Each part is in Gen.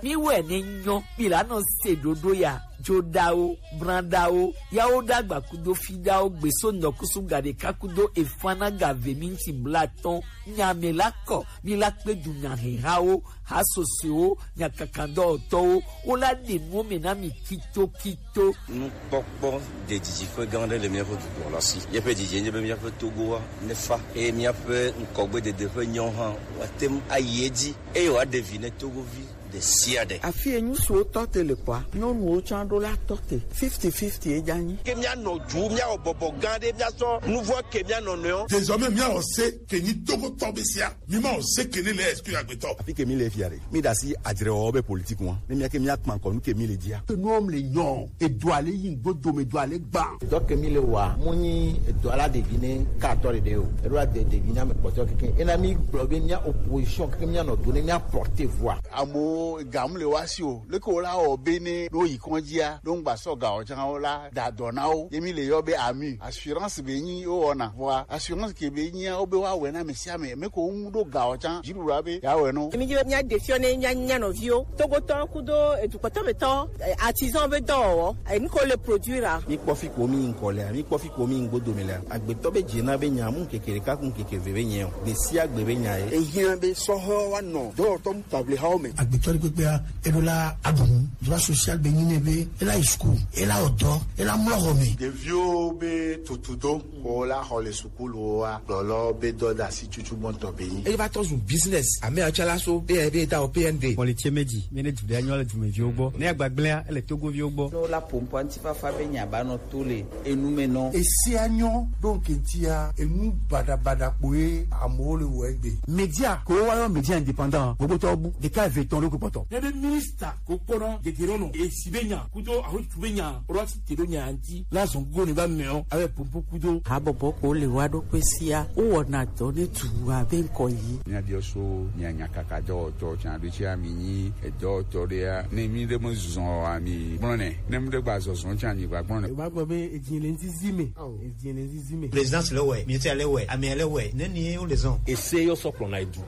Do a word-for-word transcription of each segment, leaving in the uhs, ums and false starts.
Mi wɛ ne nyɔ, mi la nɔ se ɖoɖo ya. Joɖawo, branɖawo, yawo ɖagba kudo fiɖawo gbeso nɔkusu gaɖeka kudo efana gave minti blatɔn. Nya me la kɔ, mi la kpe du nya hehawo, ha sosoewo, nya kakandɔwɔtɔwo, wo la ɖe nuwo me na mi kitokito. Nukpɔkpɔ ɖe didiƒe gã aɖe le míaƒe dukɔ la si. Míaƒe didi nye be míaƒe Togoa nefa eye míaƒe ŋkɔgbedede ƒe nyawo hã woate ŋu ayi edzi eye wòaɖe vi ne Togovi ɖe sia ɖe. Afi yi ŋutsuwo tɔ te le kɔa, nyɔnuwo tsã ɖo la tɔ te. Fifty fifty ye dza nyi. Ke míanɔ du, míawɔ bɔbɔ gã aɖe, míasɔ nu vɔ̃ ke mía nɔnɔewo. Désormais, míawɔ se ke nyi Togotɔ be sia. Mi ma o se ke ne le exclu agbetɔ. Afi ke mi le fia ɖe, mi ɖe asi adzrewɔwɔ be politique ŋua. Ne mía ke mía kpa ŋkɔ nu ke mi le dzia. Ke nuwo le nyɔ, edo ale yi ŋgbo dome do ale gba. Dɔ ke mi le wa, mo nyi edo ala ɖevi ne ka atɔ ɖeɖe o. Eɖo ade ɖevi na me kpɔtɔ keke. Ena mi gblɔ be mía opposition keke mía nɔ do ne mía porter voix. Amewo ga mu le wa si o. Leke wo la wɔ be ne ɖo yi kɔndzia, ɖo ŋgba sɔ ga o tsã wo la da dɔ na wo. Ye mi le yɔ be ami. Assurance be nyi wo wɔna. Vɔa assurance ke be nyia wo be wa wɛ na ame sia ame. Me ko ŋu ɖo ga o tsã. Dziɖuɖua be ya wɛ no. Mi dzi be mía ɖe fiɔ ne mía nya nɔviwo. Togotɔ kudo edukɔtɔ betɔ, eh, artisan be dɔwɔwɔ. Eh, nu ko le produire a. Mi kpɔ fi ko mi ŋkɔ lea, mi kpɔ fi ko mi ŋgbo dome lea. Agbetɔ be dze na be nya mu keke ɖeka ku keke ve be nyɛ o. Gbe sia gbe be nya ye. Ehiã be sɔhɔ wa nɔ dɔwɔtɔ mu table hawo me. Agbetɔ ɖe kpekpea, eɖo la aɖu nu. Droit social be nyi nɛ be ela yi school, ela wɔ dɔ, ela mlɔ xɔ me. Ɖeviwo be tutudo ko la xɔ le sukuluwoa, gblɔlɔ be dɔdasi tutu gbɔntɔ be nyi. Eye va tɔ zu business. Ame atsɔ la so, eye be ta o P N D. Xɔ le tse me dzi, mi ne du ɖe anyɔ le dumeviwo gbɔ. Ne agbagblẽa, ele togoviwo gbɔ. Ne wola ƒo ŋkɔa ŋutifafa be nya ba nɔ to le enu me nɔ. Esia nyɔ ɖo ŋkɛntia, enu baɖabaɖa kpoe amewo le wɔ egbe. Media, ko wa yɔ media indépendant, gbogbo tɔ bu, ɖeka eve tɔn ɖo kpɔtɔ. Ne be minista ko kpɔna gegere nɔ, esi be nya, kudo ahotu be nya, rɔ si te ɖo nya ŋuti, la zɔn go ne va mɛ o, awɛ popo kudo. Habɔbɔ ko le wa ɖo kpe sia, wo wɔna dɔ ne tu abe ŋkɔ yi. Mía biɔ so, mía nya kaka dɔwɔtɔ tsa ɖo tsi ami nyi, edɔwɔtɔ ɖea, ne mi ɖe me zɔn ami gblɔ nɛ, ne mi ɖe gba zɔzɔn tsa nyi gba gblɔ nɛ. Eva gbɔ be edzi le ŋzizi me, edzi le ŋzizi me. Présidence le wɛ, ministère le wɛ, amea le wɛ, ne ni wo le zɔn. Ese yɔ sɔ kplɔ na edu.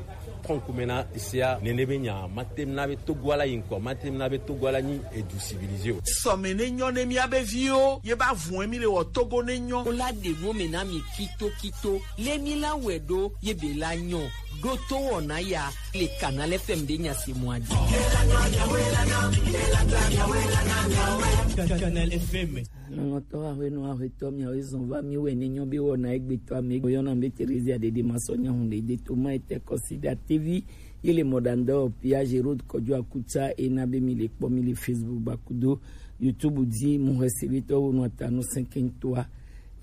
Kɔnkume na sia nene be nya ma tem na be Togo ala yi ŋkɔ, ma tem na be Togo ala nyi edu civilisé o. Sɔme ne nyɔ ne mía be viwo, ye ba vun mi le wɔ Togo ne nyɔ. Wo la ɖe nu me na mi kito kito, le mi la wɛ ɖo, ye be la nyɔ, ɖo to wɔna ya, le Canal F M ɖe nya se mɔ adi. Canal F M. Nɔnɔtɔ aƒenɔ aƒetɔ miawo zɔn va mi wɛ ne nyɔ be wɔna egbetɔ ame yɔna be Teresia ɖeɖe ma sɔ nya hun ɖe de to ma ete kɔsi ɖe atevi. Ye le mɔɖaŋudɔwɔƒea Géraud Kɔdzo Akutsa ena be mi le kpɔ mi le Facebook ba kudo YouTube dzi mu xɔ ese be tɔwo nɔ ta nu sɛnkɛntɔa.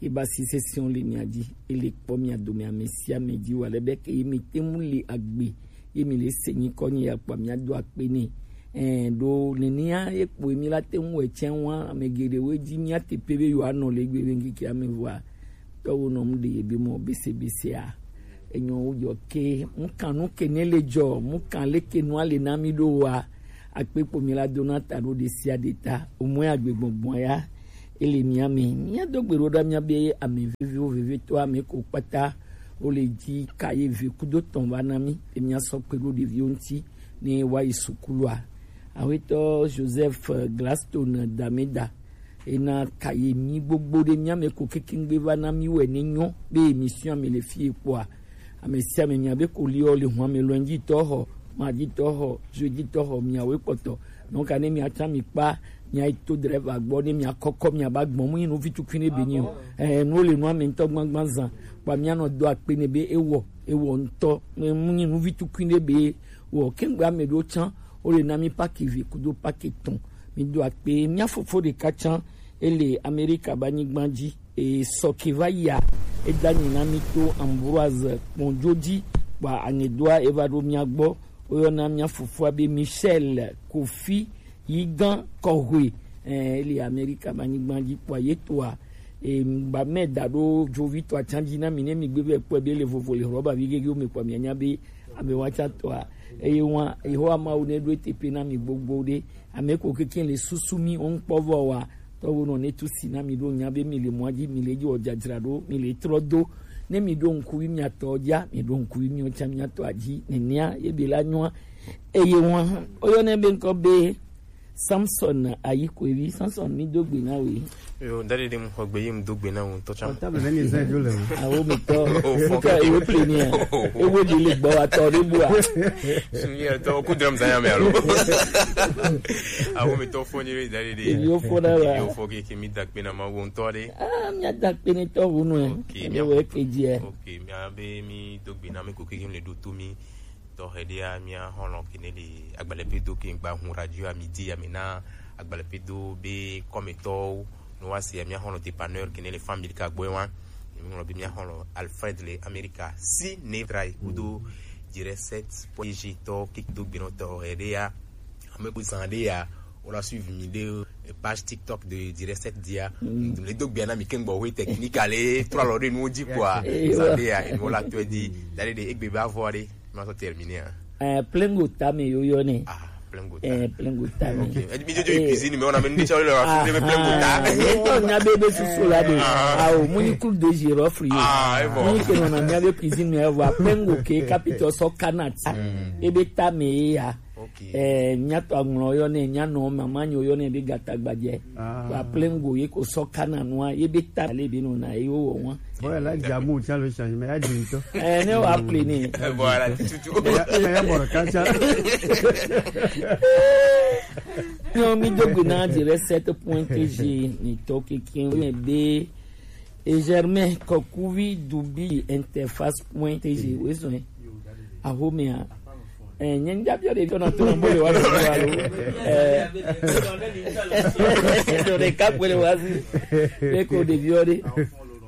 Ye ba si session le mia dzi, ye le kpɔ mia dome ame sia ame dzi wa le be ke ye mi te ŋu le agbe, ye mi le se nyikɔ nyi ya kpɔ mia do akpe nɛ. Ɛɛ, ɖo nenea ye kpoe mi la te ŋu wɔ etsɛ wa ame geɖewo dzi mia te pe be yewoanɔ le egbe be ŋkeke ame vɔa. Tɔwo nɔ mu ɖe ye be mɔ bese besea. Enyɔ wo dzɔ ke, mu kan nu ke ne le dzɔ, mu kan leke nua le na mi ɖo wa. Akpe kpo mi la do na ta ɖo ɖe sia ɖe ta. O mɔ ya gbe gbɔngbɔn ya, ele mia me. Mia do gbe ɖo ɖa mia be ame veviwo vevetɔ ame ko kpata. Wo le dzi ka ye ve kudo tɔn va na mi. E mia sɔ kpe ɖo ɖeviwo ŋuti ne wa yi sukulua. Awetɔ Joseph Gladstone Dameda. Ena ka ye mi gbogbo ɖe mia me ko kekengbe va na mi wɛ ne nyɔ be emission ame le fie kpɔa. Ame sia ame mia be ko liɔ le hua me lundi tɔ xɔ, mardi tɔ xɔ, jeudi tɔ xɔ miawo kpɔtɔ. Donc ne mia tsa mi kpa, mia yi to driver gbɔ ne mia kɔkɔ mia ba gbɔn mu yi nu vi tukui ne be nyi o. Eh, nu le nu ame ŋutɔ gbangban zan. Kpa mia nɔ do akpe ne be ewɔ, ewɔ ŋutɔ. Mu nyi nu vi tukui ne be wɔ kengbe ame ɖo tsa, wo le na mi paki vi kudo paki tɔn. Mi do akpe, mia fofo ɖeka tsã, ele Amerika ba nyigba dzi, e sɔ ke va yia, e da nyi na mi to Ambroise Kpɔndzo dzi, kpa aŋedoa e va ɖo mia gbɔ, wo yɔna mia fofoa be Michel Kofi Yigan Kɔhwe, eh, ele Amerika ba nyigba dzi kpa ye toa, e ba mɛ da ɖo dzovi to atsa dzi na mi ne mi gbe be kpɔe be le vovo le rɔba vi gege wo me kpa mia nya be ame wa tsa toa, eye wa, Yehowa Mawu ne ɖo eteƒe na mi gbogbo ɖe, Ame ko keke le susu mi wo ŋkpɔ vɔ wa. Tɔwo nɔ ne tu si na mi ɖo nya be mi le mɔa dzi, mi le dzi wɔ dzadzra ɖo, mi le trɔ do. Ne mi ɖo ŋku wi mia tɔ ja, mi ɖo ŋku wi mia tsa mia tɔ aji, nenia ye be la nyɔa. Eye wa, o yɔ ne be ŋkɔ be Samson Ayikwevi. Samson, mi do gbe na we. Yo, dade de mu xɔ gbe ye mu do gbe na wo ŋutɔ tsã. Ɔta be ne mi zã jo le o. Awo mi tɔ. O fɔ. Nika ke ewe ple ni a. Ewe de le gbɔ wa tɔ de bu a. Sunyi tɔ ku dram zanya me alo. Awo mi tɔ fɔ ni re dade de. Yo fɔ da wa. Yo fɔ ke ke mi da gbe na ma wo ŋutɔ de. Ah, mi da gbe ni tɔ wo no. Ok, mi we ke je. Ok, mi a be mi do gbe na mi ko ke le do to mi. Tɔxɛ ɖea, mía xɔlɔ̃ kene le agbalẽ pedo ke ŋgba hun radio a midi ya me na agbalẽ pedo be kɔmetɔwo, no wa se mía xɔlɔ̃ dépanneur kene le famille ka gbɔe wa. Mi ŋlɔ be mía xɔlɔ̃ Alfred le Amerika si ne trai kudo dire set poeji tɔ ke do gbe no tɔxɛ ɖea. Ame ko zan ɖea, o la suivre mi de page TikTok de dire set dia. Mm. Le do gbe na mi ke ŋgbɔ we technique ale trois lɔ de nu di quoi. Eh, zan ɖea, e mo la to di. Dade de egbe ba vɔ de. Ma so terminer, hein. Eh, plengo tame yo yo ne. Ah, plengo ta. Eh, plengo tame. Ok. E mi jojo cuisine, mais on a même déjà le raffiné plengo ta. Ah, ye to nya be be susu la de. Ah, o, muni coule de girofle yo. Ah, e bon. Muni ke no na nya be cuisine, mais wa plengo ke capito so kanat. E be tame ya. Ok. Eh, nya to aŋlɔ yo ne, nya no mama nyo yo ne be gata gbadze. Ah. Wa plengo ye ko so kana nua, ye be ta le be no na ye wo wa. Bon, là, Djamou, tiens le changement, il y a du temps. Eh, ne wa ple ni. Eh, voilà, tu, tu, tu. Mais il y a, mais il y a bon, quand ça. Non, mi do gbe na dire sept point T G, ni to ke kin be. Et Germain, Kokuvi, Dubi, Interface point T G, oui, oui. Ahomea. Eh, nye ŋdza biɔ ɖeviwo nɔ to nɔ bo le wa ɖo wa lo. Eh. Ɖo ɖeka koe le wa si. Ɖe ko ɖeviwo ɖe.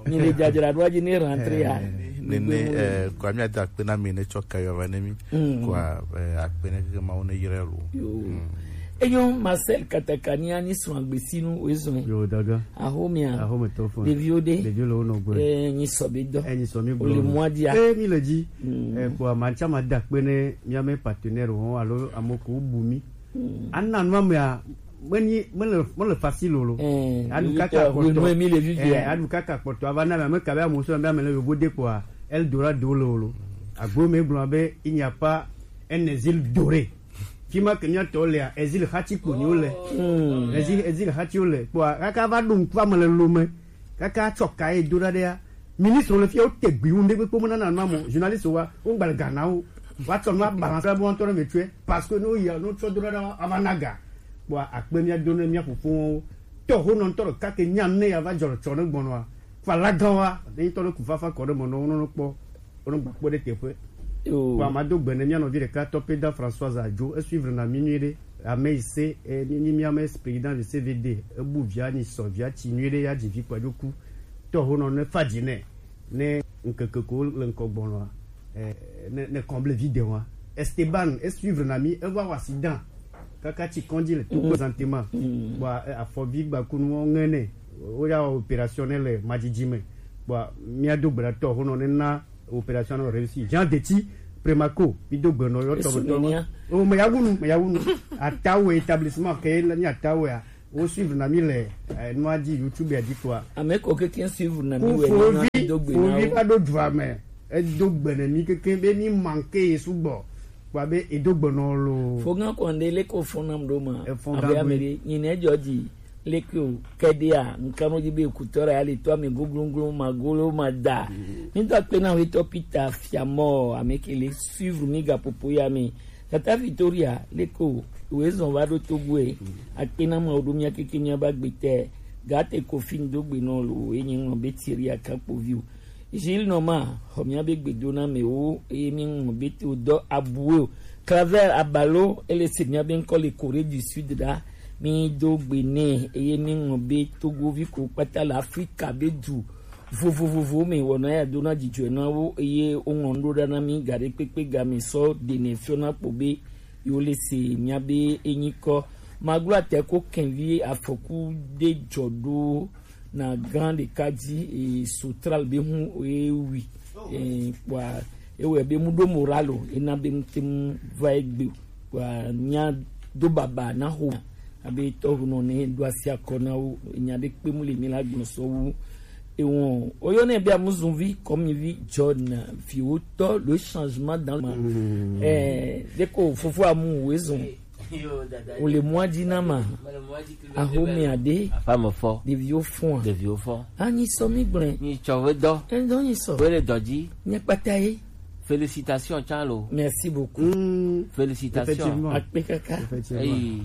Ni le dzadzra ɖo adzi ne rentre ya. Eh, nene, eh, kwa mi ada akpe na mi ne tsɔ kayɔ va ne mi. Mm. Kwa, eh, akpe ne ke ma wo ne yire lo. Yo. Mm. Enyo Marcel Katakania ni srɔ̃ agbesinu wezɔn. Yo, daga. Ahomea. Ahome to fo. Ɖeviwo ɖe. Ɖeviwo le wo nɔ gbe. Eh, nyi sɔ be dɔ. Eh, nyi sɔ mi gblɔ. O le mɔa dia. Eh, mi le dzi. Mm. Eh, kpɔ, ma tsa ma da kpe ne mía me partenaire wo alo ame ko bu mi. Mm. Ana nua mea, me ni, me le, me le facile lo. Eh, adu kaka kpɔtɔ. Eh, adu kaka kpɔtɔ. Ava na me, me kabe amuso be ame le yobo de kpɔa, Eldorado le lo. Agbo me gblɔ be, il n'y a pas un exil doré. Fi ma ke mía tɔ lea, exil xati kpo nyi wo le. Hmm. Exil, exil xati wo le. Kpɔa, kaka va ɖo ŋku ame le lome. Kaka tsɔ ka ye do ɖa ɖea. Ministre le fia wo te gbi ŋu ɖe kpekpe mo nana ma mo. Journaliste wa, wo gbalẽ ga na wo. Wa tsɔ nua balance la bo ŋutɔ ne me tsɔe. Parce que no ya, no tsɔ do ɖa ɖa, ava na ga. Kpɔa, akpe mía do ne mía fofowo. Tɔ ho nɔ ŋutɔ ɖeka ke nya ne ya va dzɔ le tsɔ ne gbɔnɔa. Kpɔa, la gan wa, ne ŋutɔ ne ku fafa kɔ ɖe me nɔ wo nɔ kpɔ. Wonɔ gba kpɔ ɖe teƒe. Yo. Kpɔa, mado gbe ne mía nɔvi ɖeka tɔ Peda Françoise Adzo, esuivre na mi nyuie ɖe. Ame yi se, eh, mi, mi, mi ame président de C V D, ebu via ni sɔ via tsi nyuie ɖe, ya dzi vi kpa dzo ku. Tɔ ho nɔ ne fa dzi nɛ, ne ŋkeke ko le ŋkɔ gbɔnɔa, eh, ne, ne comble vidéo wa. Esteban, esuivre na mi, eva wa accident. Kaka tsi kɔndzi le tout présentement. Mm. Kpɔa, eh, afɔvi gbakunuwo ŋe nɛ. Woya wɔ opération ne le madzidzi me. Kpɔa, mía do gbe ɖa tɔ ho nɔ ne na opération nɔ réussi. Jean Deti, Premaco, mi do gbe nɔ yɔ tɔ be tɔ. O, me ya wunu, me ya wunu. Atawe établissement ke le ni Atawe a. Wo suivre na mi le, eh, nua dzi YouTube ya dzi kpɔa. Ame ko keke suivre na mi we na do gbe na wo. Fovi va ɖo dua me. Edo gbe ne mi keke be mi manke ye sugbɔ. Kpɔa be edo gbe nɔ lo. Fo gan kɔnde le ko fo nam ɖo ma. Efo abe gan ame ɖe, nyi ne dzɔ dzi. Leke o, kɛdea, ŋkanu dzi be kutɔ ɖe ali tɔ ame goglonglo ma golo ma da. Mi do akpe na wetɔ Peter Fiamɔ, ame ke le suivre mi gaƒoƒo ya me. Tata Victoria, leke o, wezɔn va ɖo Togo e. Akpe na ma o ɖo mía keke mía ba gbe te. Gate Kofi ŋdo gbe nɔ lo, enyi ŋlɔ be Thierry Akakpovi o. Gilles Noma, xɔ mía be gbedonamewo, eye míeŋlɔ be to dɔ abue o. Claver Abalo, ele se mía be ŋkɔ le Corée du Sud ɖa. Mi do gbe nɛ, eye míeŋlɔ be Togovi ko kpata le Afrika be du vovovovo me wɔna ya dona dzidzɔe na wo, eye woŋlɔ nu ɖo ɖa na mi gaɖe kpekpe game sɔ ɖenɛ fiɔ na kpɔ be yewo le se mía be enyikɔ. Maglo atɛ ko kɛnvi afɔku de dzɔ ɖo na gan ɖeka dzi, e, Sotral be hu e wi, e, kpɔa ewɔe be mu ɖo moral o, ena be mu te mu va egbe o. Kpɔa mía do baba na ho abe tɔho nɔ ne ɖo asi akɔ na wo, enya ɖe kpe mu le mi la gblɔ sɔ wu. Ewon, oyo ne bia muzuvi, kɔmivi, John, viwo tɔ, le changement dans le monde. Eh, deko fofo amu wezon. Yo, dada. O le mwa di na ma. Ahome ade. Afa me fɔ. Ɖeviwo fɔa. Ɖeviwo fɔ. Anyi sɔ mi gblẽ. Nyi tsɔ ve dɔ. Edo nyi sɔ. Ve le dɔ dzi. Nye kpata ye. Félicitations tsã lo. Merci beaucoup. Mm. Félicitations. Effectivement. Akpe kaka. Effectivement. Eyi.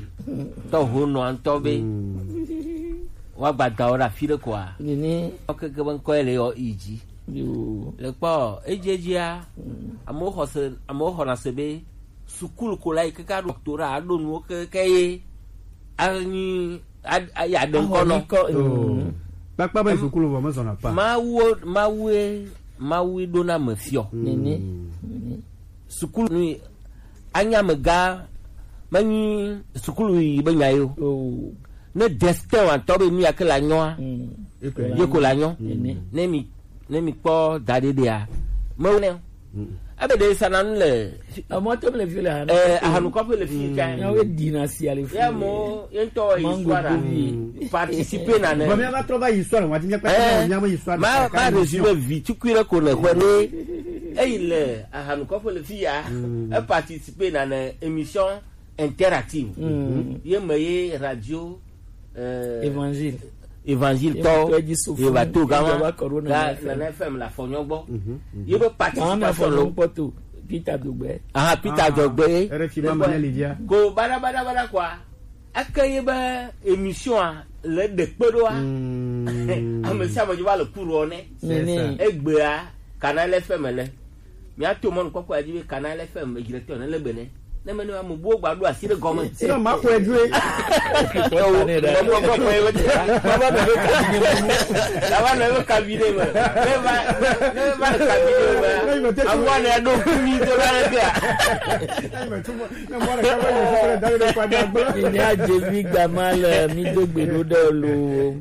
Tɔ ho nɔ ŋutɔ be. Mm. Wa gbadawo ɖe afi ɖe koa. Nene. Wo keke be ŋkɔ ye le yɔ yi dzi. Yo. Le kpɔ, edzi edzia, mm, amewo xɔ se, amewo xɔna se be sukulu ko la yi keke aɖo doctorat, aɖo nuwo keke ye anyi, a, a, ya ɖe ŋkɔ nɔ. Ahɔ nyikɔ, mm. Kpakpa be sukulu vɔ mezɔna pa. Mawu, Mawu, Mawu ɖona me fiɔ. Nene. Sukulu nu anya me ga menyi sukulu yi be nya yo. Oh. Ne destin wa tɔ be nu ya ke la nyɔa. Mm. Ye ko la nyɔ. Nene. Ne mi ne mi kpɔ da ɖe ɖea, me ne. Mm. Ebe ɖe sana nu le. Amɔ to le fi le hanu. Eh, ahanu kɔƒe le fi ka. Ya we dina si ale fi. Ya mo, ye ŋutɔ histoire. Participer na ne. Bon, mais on va trouver histoire, on va dire, eh, nya me histoire. Ma, ma résumé vi tukui le ko ne ko ne. Eyi le ahanu kɔƒe le fi ya. Mm. E participer na ne émission interactive. Mm. Ye me ye radio, euh, Évangile. Évangile tɔ, ye va to gama, ga Nana F M la fɔnyɔ gbɔ. Mhm, mhm. Ye be participation lo. Peter Dogbe. Ah, Peter Dogbe. R F I ma ma ne Lydia. Ko bada bada bada quoi. Eke ye be émission a le ɖe kpe ɖoa. Mm. Ame sia ame dzo va le cours ne. Nene. Egbea, Canal F M le. Míato mɔnukpɔkpɔ ya dzi be Canal F M directeur ne le be ne. Ne me ne ame buwo gba ɖo asi ɖe gɔme. Sinon, ma xɔe dzoe. Ewo, ma xɔ kɔ ye be. Ma va nɔ be kabinet me. Ma va nɔ be kabinet me. Ne va, ne va le kabinet me. Awa ne ɖo kumi to la ne bia. Ne mɔ ɖeka va yi sukulu da ɖe kɔ da gbe. Mi nya dzevi gama le mi do gbe ɖo ɖe lo.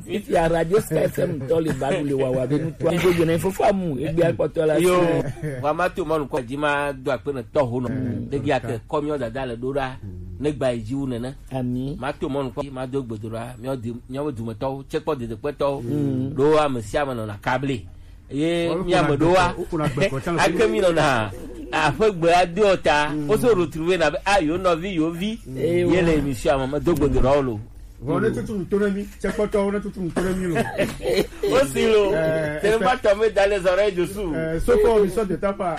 Fifia Radio Sky F M tɔ le ba ɖu le wawa be ŋutɔ. Mi do gbe ne fofo amu, egbe akpɔtɔ la. Yo, si. Wa ma to mɔnu kɔ dzi ma do akpe ne tɔ ho nɔ. Mm. Ɖe gi ake kɔ miɔ dada le ɖo ɖa. Mm. Ne gba yi dzi wu nene. Ami. Ma to mɔnu kɔ, ma do gbe do ɖa. Miɔ di, miɔ be dumetɔwo, tsekpɔ dedekpetɔwo. Mm. Ɖo ame sia ame nɔna kable. Ye mi ame ɖoa. Ake mi nɔna. Aƒe gbe ado ta. Mm. Wo so retrouver na be, ah, yo nɔvi, yo vi. Mm. Ye le émission me, me do gbe do ɖa wo lo. Vɔ ne tutu nu to ne mi, tsekpɔtɔwo ne tutu nu to ne mi lo. Aussi lo. Euh, c'est le matin, mais dans les oreilles dessous. Euh, ce qu'on lui sort de ta part.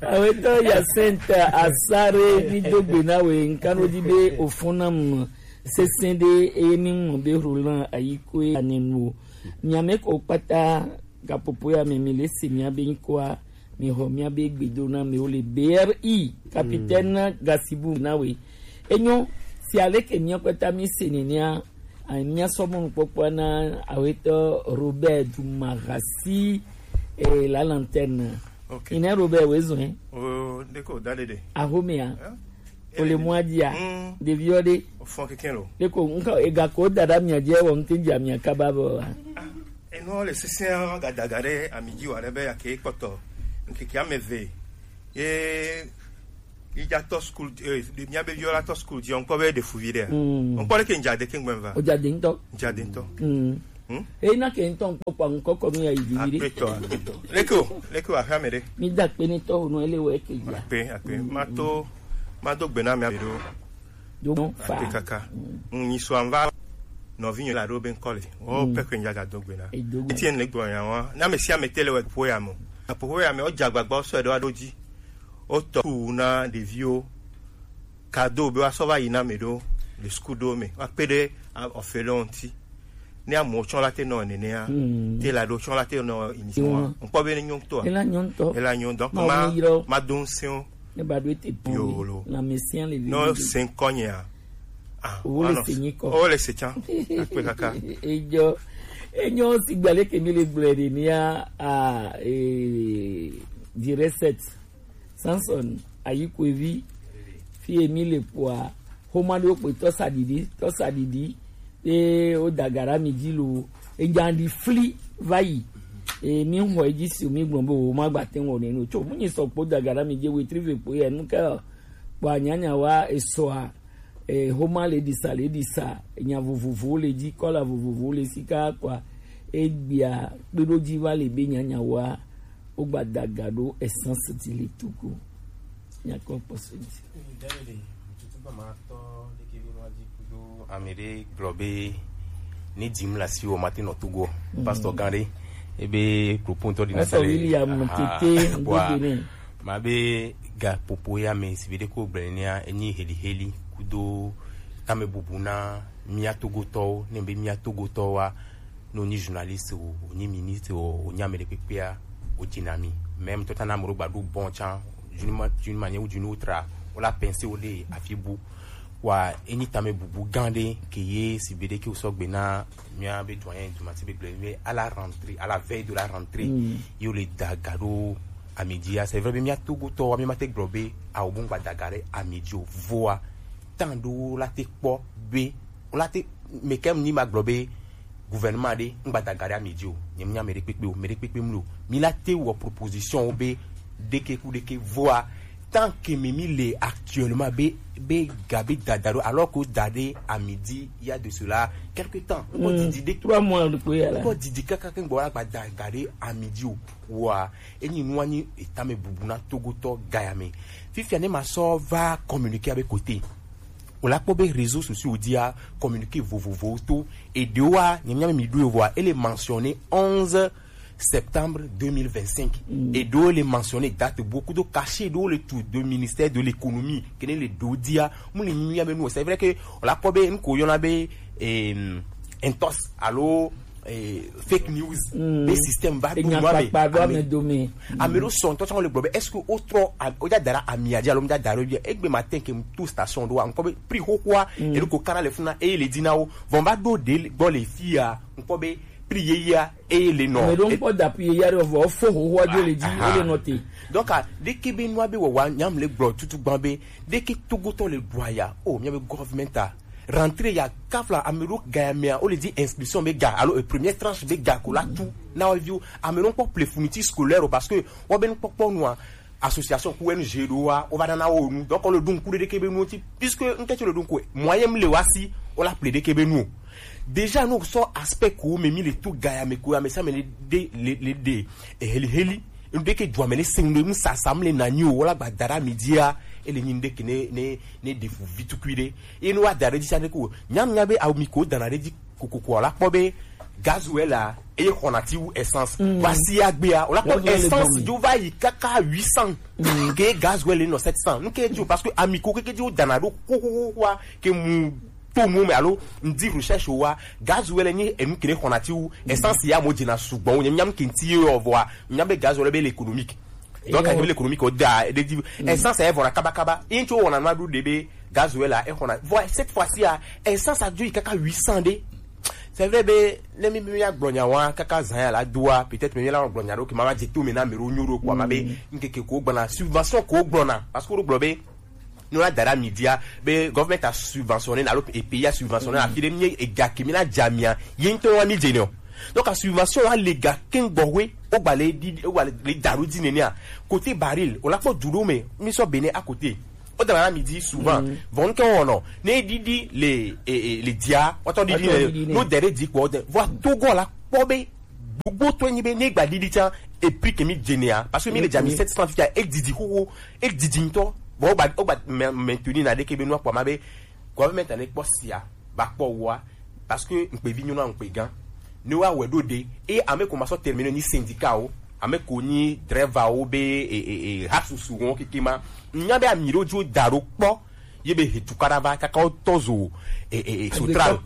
Awetɔ Yacinthe Asare, mi do gbe na we, nka no di be o fun na mu. Sesẽ ɖe eye mi ŋlɔ be Roland Ayikoe anenu o. Miame ko kpata gapopo ya me mi le se miabe ŋkɔa, mi xɔ miabe gbedo na me wo le B R I, capitaine Gasibu na we. Enyo, si aleke mia kpata mi se nenea, a, mia sɔ mɔnukpɔkpɔ na awetɔ Robert Dumarasi, eh, la lanterne. Ok. Ine Robert wezɔn, eh? O, de ko da dede. Ahomea. Eh? O le mwa dia. Mm. Ɖeviwo ɖe. O fɔ keke lo. De ko nka ega ko dada mia je wo nte dia mia kaba bo. Ah, eno le sesẽ gadaga ɖe ami dzi wa ɖe be ake kpɔtɔ. Nkeke ame eve. Ye yi dza tɔ school, eh, de mia be viola tɔ school dzi, on kpɔ be de fuvi ɖe. Mm. On kpɔ le ke nja de ke ngbe va. O ja de ŋutɔ. Nja de ŋutɔ. Mm. Hmm? Eyi na ke ŋutɔ ŋkpɔkpɔ ŋkɔkɔ mi ya yi vivi ɖe. Akpetɔ, akpetɔ. Leke o, leke o, aƒea me ɖe. Mi da kpe ne tɔ o nɔ ele wɔ eke ya. Akpe, akpe. Mm. Ma to, ma do gbe na mi aɖo. Do fa. Akpe kaka. Mm. Ŋ nyi so anva. Nɔvi nyɔ la ɖo be ŋkɔ le. O, mm, pɛkɛ nya ga do gbe na. E do gbe. Etienne le gbɔ ya wa. Na me sia me tele wɔ ƒo ya mo. Aƒo ya me o dza gbagba o sɔ ɖo aɖo dzi. O tɔ ku na ɖeviwo. Kado be woasɔ va yi na ame ɖewo le suku ɖewo me, woakpe ɖe, a, ɔfe ɖewo ŋuti. Ne amewo tsɔ la te nɔ nenea, mm, te la ɖewo tsɔ la te nɔ initiative wa. Mm. Ŋkpɔ be ne nyɔ ŋutɔa? Ela nyɔ ŋutɔ. Ela nyɔ, donc ma, ma do ŋusẽ wo. Ne ba ɖo ete pɔn yo lo. La mesia le vi. No se ŋkɔ nyea. Ah, wo le se nyi kɔ. Wo le se tsã. Akpe kaka. Ejɔ. Enyo si gbalẽ ke mi le gblɔe ɖe nia, a, e, di reset. Samson Ayikwevi, fi ye mi le kpoa, xoma ɖewo kpe tɔsaɖiɖi, tɔsaɖiɖi, ye wo da ga ɖe mi dzi lo, egan ɖi fli va yi. E, mi xɔ edzi si mi gblɔ be wo ma gba te ŋu wɔnɛ no. Tso mu nyi sɔ kpo da ga ɖe mi dzi, wetri ve kpo ye nu ke kpɔ anyanya wa esɔa, eh, homa le ɖisa le ɖisa, nya vovovowo le dzi, kɔla vovovowo le sika kɔa, egbea kpeɖodzi va le be nyanyawoa, wogba da ga ɖo essence dzi le Togo. Nyakɔ kpɔsɔ dzi. David, tutu gba ma tɔ ɖeke be nua dzi kudo ame ɖe gblɔ be ne dim le asiwò mate nɔ Togo. Pastor gã ɖe, ebe kropotɔ ɖi Pastor William Tete Gbegbe ne. Ma be gaƒoƒo ya me si be ɖe ko gblɔ nea enyi heliheli kudo tamebubu na mía Togotɔwo, ne be mía Togotɔwoa, ne wonyi journaliste o, wonyi ministre o, wonyi ame ɖekpekpea, wodzi na mí. Même tɔ ta na ame ɖewo gba ɖo bon tsã, d'une ma-, d'une manière ou d'une autre, wola pensé wo ɖe afi bu. Wa enyi tamebubu gã ɖe ke ye si be ɖe ke wosɔ gbe na mía be doyen Dumathi be gblɔ be à la rentrée, à la veille de la rentrée, ye wole da ga ɖo ami dzi ya. C'est vrai be mía Togotɔwoa, mí ma te gblɔ be awo bo ŋgba da ga ɖe ami dzi o. Voa, temps ɖewo la te kpɔ be, wola te, mais quand même ni ma gblɔ be gouvernement ɖe ŋgba da ga ɖe ami dzi o. Nye mía ame ɖekpekpe o, ame ɖekpekpe mli o. Mí la te wɔ proposition wo be ɖeke ku ɖeke. Voa, tant que mí, mí le actuellement be, be ga be dada ɖo, alors que da ɖe ami dzi, il y a de cela quelque temps. Ŋkɔ didi ɖe, trois mois ɖekpe ya la. Ŋkɔ didi kaka ke ŋgbɔ la gba da ga ɖe ami dzi o. Wa, enyi nua nyi etame bubu na Togotɔ gaya me. Fifia ne ma sɔ va communiqué abe côté. O la kpɔ be réseaux sociaux dia communiqué vovovowo to. Eɖewoa, nye mía mi ɖo voa, ele mentionné onze septembre deux mille vingt-cinq. Eɖewo le mentionné date bo kudo cachet ɖewo le tu de ministère de l'économie. Kene le ɖo dia, mu le mía me nu. C'est vrai que o la kpɔ be ŋko yɔna be, em, entos alo eh, fake news be système va ɖo nua me. Ame ɖo sɔn tɔ tsɔ le gblɔ be est-ce que o trɔ, o ja dara amia dzi alo mi ja dara bi? Egbe ma tɛn ke mu to station ɖo wa ŋkɔ be prix xoxoa eɖo ko kana le funa eye le dzi na wo. Vɔn va ɖo ɖe gbɔ le fi ya ŋkɔ be prix yeyea eye le nɔ. Ame ɖo ŋkpɔ da prix yeyea ɖe vɔ fo xoxoa dzo le dzi ele nɔ te. Donc a ɖeke be nua be wawa nyam le gblɔ tutu gban be ɖeke Togotɔ le ɖua ya o mia be government a rentrée ya kafla ame ɖo ga ya mea, wo le di inscription be ga, alo e première tranche be ga ko la tu na wo viwo. Ame ɖo kpɔ ple fourniture scolaire o, parce que wo be nukpɔkpɔ nua, association ku N G ɖo wa, wo va nana wo nu. Donc, wo le ɖo ŋku ɖe ɖeke be nuwo ŋuti, puisque ŋke tso le ɖo ŋku, moyen mi le wa si, wo la ple ɖeke be nu o. Déjà, no sɔ aspect ko me mi le to ga ya me ko ya me sa me le de, le, le de, e heli heli. Ŋɖe ke dzɔ ame le se ŋɖe ŋu sasa mle na nyi o, wala gba da ɖe ami dzia, ele nyi ŋɖe ke ne, ne, ne ɖe fu vi tukui ɖe. Eye ne wa da ɖe dzi sa ɖe ko, nya nya be awo mi ko dana ɖe dzi kokoko la kpɔ be gasoil la, eye xɔna ti wu essence. Mm. Va si agbea, o la kpɔ gasoil le essence dzo va yi kaka huit cents. Mm. Ke gasoil le nɔ sept cents. Nu ke dzi o, parce que ami ko keke dzi wo dana ɖo xoxoxoa, ke mu to nuwo me alo ŋdi recherche wa, gasoil nyi enu kene xɔna ti wu essence ya mo dzena sugbɔ wo nyam ke ŋti ye yɔ vɔa nyam be gasoil be le économique. Donc a be le économique o da e de di essence e vɔna kaba kaba. Yin tso wɔna nua ɖu de be gasoil la e xɔna vɔ cette fois-ci a essence a dzo yi kaka huit cents de. C'est vrai be ne mi mi ya gblɔ nya wa kaka zan ya la doa peut-être mi la gblɔ nya ɖo ke ma ma dze to me na me ro nyo ɖo ko ma be nkeke ko gbɔna subvention ko gbɔna parce que wo gblɔ be no la da ɖe ami dzia be government a subventionné alo e pays a subventionné afi ɖe mi ega ke mi na dza mia ye ŋutɔ wa mi dze ne o. Donc a subvention wa le ga keŋ gbɔ we o gba le di o gba le da ɖo di nenea côté baril o la kpɔ du ɖo me mi sɔ Bénin à côté o da na mi di souvent vɔn ke wɔnɔ ne didi le e, e, le dia wɔtɔ didi le no dere di kpɔ de vɔ Togo la kpɔ be gbogbo to nyi be ne gba didi tsa e prix ke mi dze nea parce que mi le dza mi sept cents fifia e didi xoxo e didi ŋutɔ. Bon o gba o gba maintenir na ɖeke be nua kpɔ ma be government ne kpɔ sia ba kpɔ wa parce que ŋkpe vi nyɔnu ŋkpe gã ne wa wɛ ɖo ɖe e ame ko ma sɔ terminer ni syndicat o ame ko ni driver o be e e e ha susu wɔn keke ma nya be ami ɖo dzo da ɖo kpɔ ye be he tukaɖa va kaka wo tɔ zo e e e sotral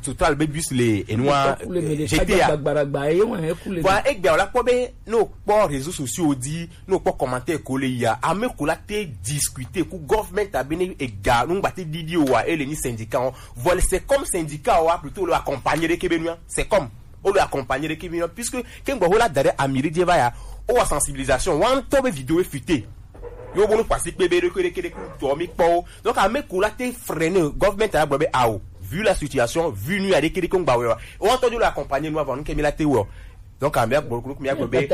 sotral be bus le enua G T A. Bon egbea o la kpɔ be ne o kpɔ réseaux sociaux di ne o kpɔ commentaire ko le ya ame ko la te discuter ku government abe ne ega nugba te didi o wa ele ni syndicat o vɔle c'est comme syndicat o wa plutôt le accompagner de kebe nua c'est comme o le accompagner de kebe nua puisque ke ŋgbɔ ho la da ɖe ami ɖe dze va ya o wa sensibilisation wa ŋutɔ be vidéo e fuite yo bonu kpasi kpe be ɖeke ɖeke ɖeke tɔ mi kpɔ o donc ame ko la te freiner government a gblɔ be ao vu la situation vu nu ya ɖeke ɖeke ŋgba wɛ wa o wa tɔ dzo le accompagner nu avɔ nu ke mi la te wɔ Donc, amia gbo, gbo, mia gbo be,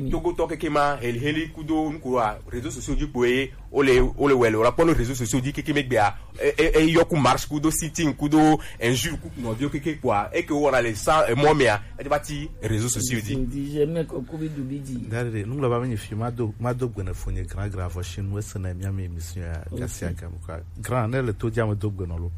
Togotɔ keke ma, heli, heli kudo nuku wa, réseaux sociaux dzi kpoe, o le, o le wɛ le, o la kpɔ no réseaux sociaux dzi keke me gbea, e, e, e, yɔ ku marche kudo sitting kudo injure ku nɔviwo keke kpoa, e ke o wɔna le sa, e, mɔ mea, e ba ti réseaux sociaux dzi. Ndi je me ko kubi dubi di. Dare, nunglo ba me nyi fi ma do, ma do gbene fo nye grand grand fo chez nous, e se na mia me émission ya, Ok. Gasi agam kwa. Grand, ne le to dzi ame do gbene lo.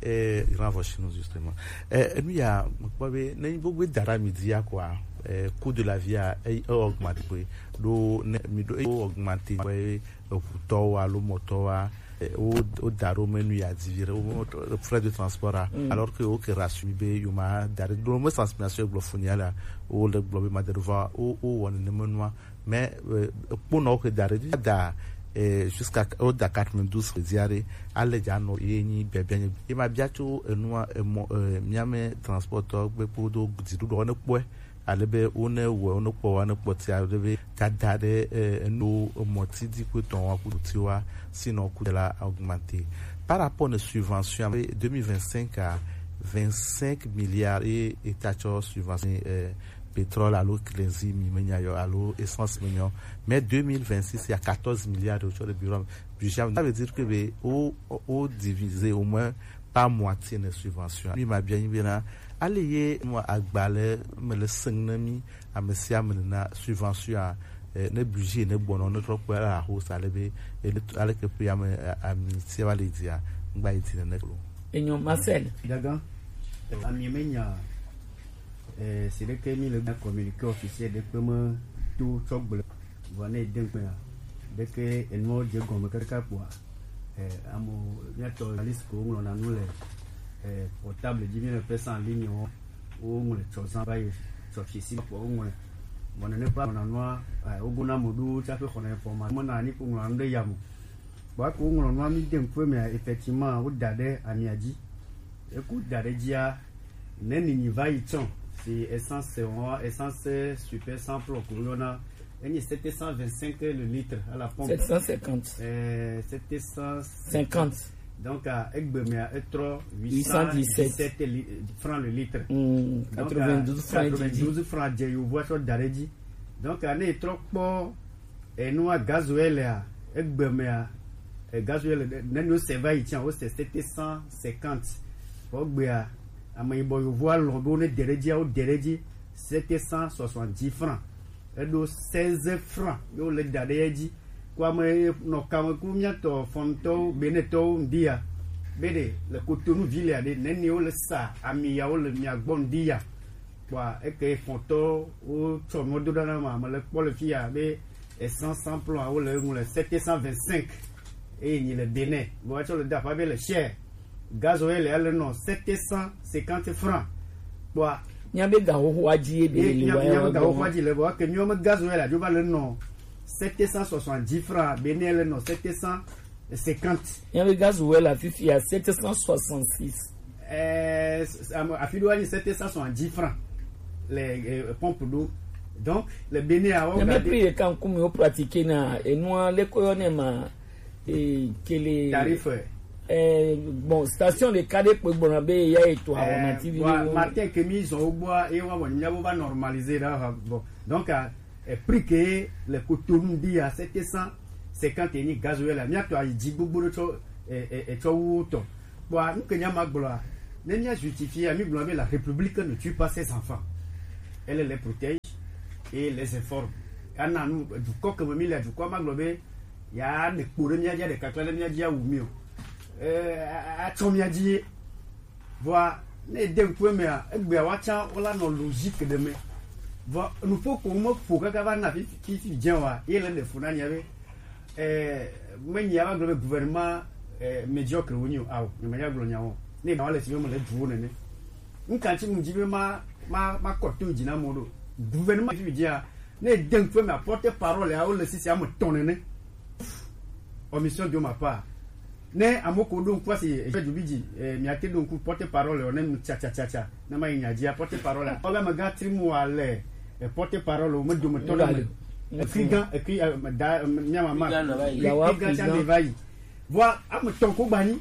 Eh, il renvoie chez nous, justement. Eh, enu ya, mekpɔ be, ne gbogbo da ɖe ami dzi ya kɔa, eh, coût de la vie a, e, e augmente kpe. Ɖo ne, mi ɖo, e augmente kpe, eʋutɔwo alo mɔtɔwoa, eh, wo, wo da ɖo me nu ya dzi viɖe, wo, wo, frais de transport a, Mm. alors que wo ke rassurer mi be yo ma da ɖe, ɖo me sensibilisation gblɔ fo nya la, wo le gblɔ be ma da ɖe va, wo, wo wɔ nenema nua, Mais, euh, kponɔwo ke da ɖe dzi da, eh, jusqu'à, woda quatre-vingt-douze ke dzia ɖe, ale dza nɔ ye nyi biabia nye. Ye ma bia tso enua, emɔ, eh, mia me transportɔ gbe kpodo dziɖuɖɔ ne kpɔe, ale be wo ne wɔ, wo ne kpɔ, wo ne kpɔ tia, ale be dada ɖe, eh, enu emɔ ti di kpe tɔn wa kudo tiwa, sinon ku de la augmenter. Par rapport ne subvention, deux mille vingt-cinq à vingt-cinq milliards et, et ta tsɔ subvention, eh, pétrole alo kerosène mi me nya yɔ alo essence me nya o. Mais deux mille vingt-six, il y a quatorze milliards de dollars de bureau. Budget, ça veut dire que be, o, o, o divisé au moins par moitié ne subvention. Mi ma bien, bien, là. Allez, ye, moi, agbalé, me le sing na mi, a me si a me na subvention, eh, ne budget, ne bon, ne trop, la hausse, allez, be, et le, allez, que puis, a me, a, a mi, si va le dire, ngba, il dit, ne, ne, Enyo, Marcel. Gaga, a mi me nya, Eh, si ɖeke mi le gbe communiqué officiel ɖekpe me to tsɔ gblɔ. Vɔ ne de ŋkpea, ɖeke enuwo dze gɔme kaka kpoa, eh, amo, míatɔ journaliste ko ŋlɔna nu le, eh, portable dzi, mi le pesa en ligne wo, wo ŋlɔ tsɔ zã va yi tsɔ fi si kpoa wo ŋlɔ. Vɔ nene kpa ŋlɔna nua, eh, wo gona mo ɖo tsaƒe xɔna information. Me na ni ko ŋlɔna nu ɖe ya mo. Kpoa ko ŋlɔ nua mi de ŋkue mea, effectivement, wo da ɖe amia dzi. Eku da ɖe dzia, ne nini va yi tsɔ, si essence wɔn, essence super sans plomb ko yɔna, enyi sept cent vingt-cinq le litre à la pompe. Sept cent cinquante. Euh, sept cent cinquante. Donc, euh, egbe mea, etrɔ huit cent dix-sept li-, francs le litre. Hmm, donc, quatre-vingt-douze francs, quatre-vingt-douze francs dze yovoa tsɔ da ɖe dzi. Donc, euh, ne etrɔ kpɔ, enua gasoil a, egbe mea, e gasoil, ne, ne wose va yi tsã, wose sept cent cinquante. Vɔ egbea, ame yibɔ yovoa lɔ̃ be wo ne de ɖe dzia, wo de ɖe dzi sept cent soixante-dix francs. Eɖo seize francs ye wole da ɖe edzi. Ko ame nɔ kame ku míatɔ fɔntɔwo, Benetɔwo ŋdi ya. Be ɖe le Cotonou ville a ɖe, neni wole sa ami ya wole mia gbɔ ŋdi ya. Kpɔa, eke fɔntɔwo tsɔ nuwo do ɖa na ma, mele kpɔ le fi ya be essence sans plomb a, wole eŋu le sept cent vingt-cinq. Eye nyi le Benin. Vɔ etsɔ le da aƒa be le cher. Gasoil ya le nɔ sept cent cinquante francs. Kpɔa, Míabe gaxoxoa dzi ye be ye le míabe, wa míabe ya gaxoxoa dzi le, vɔ eke míawo me gasoil la dzo va le nɔ sept cent soixante-dix francs, Benin le nɔ sept cent cinquante. Míabe gasoil la fifia sept cent soixante-six. Eh, s-, s-, am-, afi ɖo anyi sept cent soixante-dix francs le, eh, pompe ɖo. Donc, le Benin a, o. Mais gade prix ɖeka ŋkume wo pratiquer na enua le ko yɔ ne ma, eh, kele tarif. Eh, bon, station ɖeka ɖe kpe gbɔna be ya eto awɔ. Eh, mati vi bon, wo. Matin ke mi zɔ wo gbɔa, ye wa bon, mia bo va normaliser ɖa, bon. Donc, ah, eh, prix ke le Cotonou di ya, sept cent cinquante ni gasoil la. Mia to ayi dzi gbogbo ɖo tsɔ, eh, eh, eh, tsɔ wu tɔ. Kpɔa, nu ke nya ma gblɔa, ne mia justifier, mi gblɔ be la République ne tue pas ses enfants. Elle les protège et les informe. Ana nu, dukɔ ke me mi le, dukɔ ma gblɔ be ya ɖe kpo ɖe mia dzi, ɖe kakla ɖe mia dzi awu mi o. Eh, a, a, atsɔ mia dzi. Vɔa, ne ede ŋku emea, egbea woatsã wola nɔ logique ɖe me. Vɔ, nuƒo ko me ƒo kaka va na fi, fi, fi dze wa, ye le ɖe fu na nya be, eh, me nya va gblɔ be gouvernement, eh, médiocre wo nyi o, ao, ne me nya gblɔ nya o. Ne ga wa le si be me le du wo nene. Nka tsi mu dzi be ma, ma, ma kɔ to dzi na mo ɖo. Gouvernement fi dzia, ne ede ŋku emea, porte parole ya wo le sisi ame tɔn nene. Omission de ma part. Ne amo ko ɖo ŋku asi, eh, Djobidji, eh, mia te ɖo ŋku porte parole o, ne nu tsa, tsa, tsa, tsa. Ne ma yi nya dzia, porte parole. Ɔlɛ amegã Trimua le, eh, porte parole o, me dometɔ ɖe me. Ekri gã, ekri, eh, da, eh, mia mama. Ekri gã nɔ va yi. Yawa ekri gã tsa me va yi. Vɔa, ame tɔn ko gba nyi.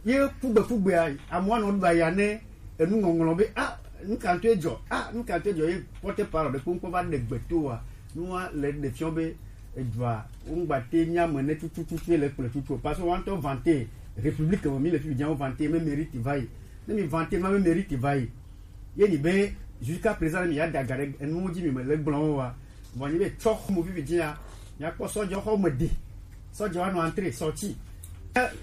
Ye kugbe kugbea, amoa nɔ ɖo aya ne, enu ŋɔŋlɔ be, ah, Nukanto edzɔ? Ah, nukanto edzɔ ye porte parole ɖe kpokpo va ɖe gbe to wa. Nua le ɖe fiɔ be edzɔa, ŋgba te mía me ne tututu le kple tutu o. Parce que woantɔ vante, république me mi le fi djan vante, me mérite va yi. Ne mi vante ma me mérite va yi. Ye ni be, jusqu'à présent, mi ya daga ɖe enuwo dzi mi me le gblɔ wa. Vɔ nyi be tsɔ xɔmɔ vivi dzia, mia kpɔ sɔdzɔ xɔme de. Sɔdzɔ wa nɔ entrée, sortie.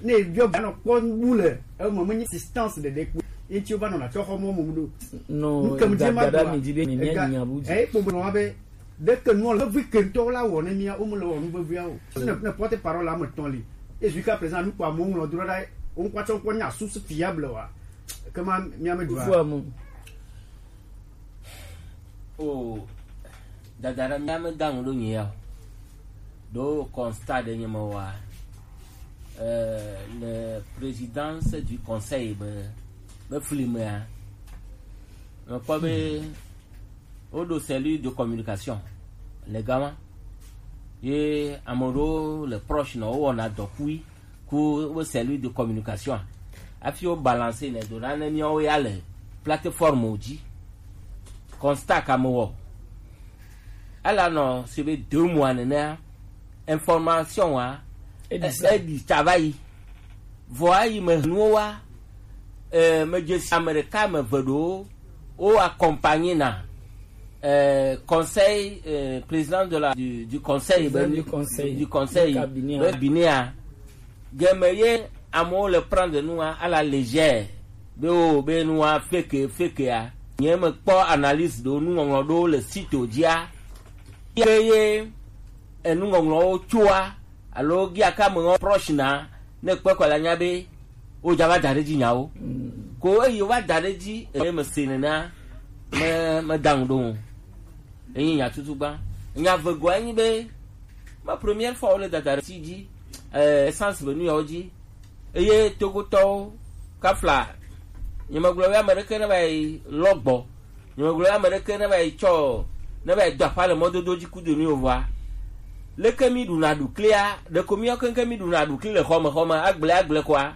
Ne biɔ ba nɔ kpɔ bu le eme, me nyi assistance ɖeɖe kpo. Enti wo va nɔ na tsɔ xɔmɔ mo ɖo. No, nu ke mu dze ma dada do mi dzi be mi mia ega nya bu dzi. Eh, kpɔ nɔ be ɖe ke nɔ le vi ke ŋutɔ la wɔ ne mia, wo me le wɔ nu vevia o. Ne, ne porte parole la me tɔn li. Et jusqu'à présent, nu kpɔ amewo ŋlɔ do ɖa, wo ŋkɔ tsɔ ŋkɔ nya source fiable wa. Ke ma mia me do. Fu amu. O dada ɖe mía me da ŋu ɖo nye ya o. Ɖo constat ɖe nye me wa, euh, le présidence du conseil be, be flimea, mekpɔ be woɖo cellule de communication le gama. Ye ame ɖewo le proche nɔ wo wɔna dɔ kui. Ku wo cellule de communication. Hafi wo balancer nɛ do na ne míawo ya le plateforme wo dzi. Constat ka me wɔ. Ela nɔ si be deux mois nenea, information wa, e, e ɖi tsa va yi. Vɔ ayi me nuwo wa, eh, me dze si ame ɖeka, ame eve ɖewo wo accompagner na, euh, conseil, euh, président de la, du, du conseil, président ben, du conseil, du conseil, du cabinet, be hein. Cabinet a. Game ye amewo le prendre nua à la légère. Be o, be nua fake, fake a. Nye me kpɔ analyse ɖo, nuŋɔŋlɔ ɖo le site o dzia. Ye, ye, enuŋɔŋlɔwo tsoa, alo gia ka me ŋɔ proche na, ne kpɔe kɔ la nya be, wo dza va da ɖe dzi nyawo. Mm. Ko eyi wo va da ɖe dzi, eye me se nena, me, me da ŋu ɖo ŋu. Enyi nya tutu gba. Nya vegɔa enyi be, ma première fois wo le dada ɖe ti dzi, eh, essence be nu yawo dzi. Eye Togotɔwo, kafla, nye me gblɔ be ame ɖeke ne va yi lɔ gbɔ. Nyemegblɔ be ame ɖeke ne va yi tsɔ, ne va yi do aƒa le mɔdodo dzi kudo nu yovɔa. Leke mi ɖuna ɖuklia? Ɖeko miawo keŋkeŋ mi ɖuna ɖukli le xɔme xɔme, agble agble kɔa,